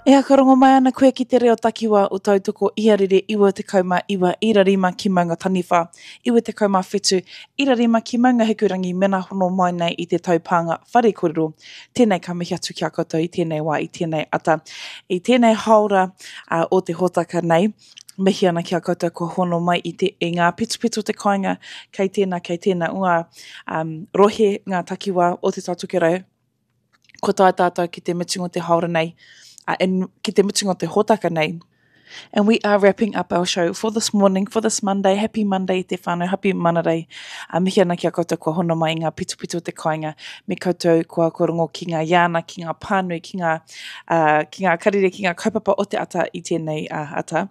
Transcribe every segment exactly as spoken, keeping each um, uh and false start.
E whakarongo mai ana koe ki te reo takiwā o Tautoko Iarere iwa tekau mā iwa ira rima ki Maungataniwha, iwa tekau mā whitu ira rima ki Maungahikurangi mena hono mai nei i te taupānga whare kōrero. Tēnei ka mihi atu ki a koutou i tēnei wā, i tēnei ata, i tēnei hāora uh, o te hōtaka nei. Mihi ana ki a koutou kua hono mai i, te, i ngā pitopito o te kāinga, kei tēnā, kei tēnā o ngā um, rohe, ngā takiwā o Te Taitokerau. Kua tae tātou ki te mutunga o te hāora nei, uh, and ki te mutunga o te hōtaka nei. And we are wrapping up our show for this morning, for this Monday. Happy Monday te whānau, happy Manarei. A mihi ana ki a koutou kua hono mai i ngā pitopito o te kāinga, me koutou kua kua rongo ki ngā iāna, ki ngā pānui, ki ngā, uh, ki ngā karere, ki ngā kaupapa o te ata i tēnei uh, ata.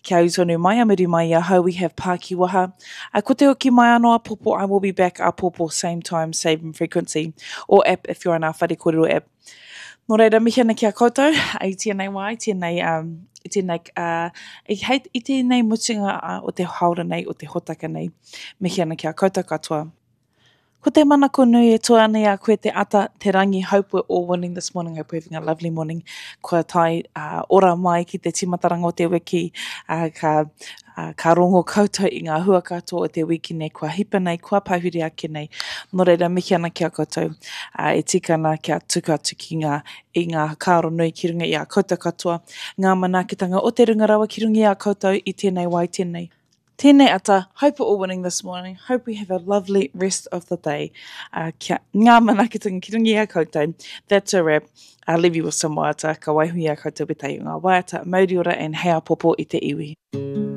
Kia ū tonu mai a muri mai i ahau, we have Pākiwaha. Uh, ko te hoki mai anō apopo, I will be back apopo, same time, same frequency, or app if you're on our whare kōrero app. Nō reira, mihi ana ki a koutou i tēnei wā, i tēnei, um, i tēnei, uh, i, hei, i tēnei mutunga uh, o te haora nei, o te hotaka nei. Mihi ana ki a koutou katoa. Ko te manako nui e toa ana i a koe te ata, te rangi, hope we're all winning this morning, hope we're having a lovely morning. Kua tae uh, ora mai ki te timataranga o te wiki, uh, ka, uh, ka rongo koutou i ngā hua katoa o te wiki nei, kua hipa nei, kua pahure ake nei. Nō reira, mihi ana ki a koutou, uh, e tika ana kia tuku atu ki ngā, i ngā whakaaro nui ki runga i a koutou katoa, ngā manaakitanga o te runga rawa ki runga i a koutou i tēnei wā, i tēnei. Tēnei ata, hope we're all winning this morning. Hope we have a lovely rest of the day. Uh, kia ngā manaakitanga ki runga i a koutou. That's a wrap. I'll leave you with some waiata. Ka waiho i a koutou wetahi o ngā waiata, mauri ora and hei apopo i te iwi.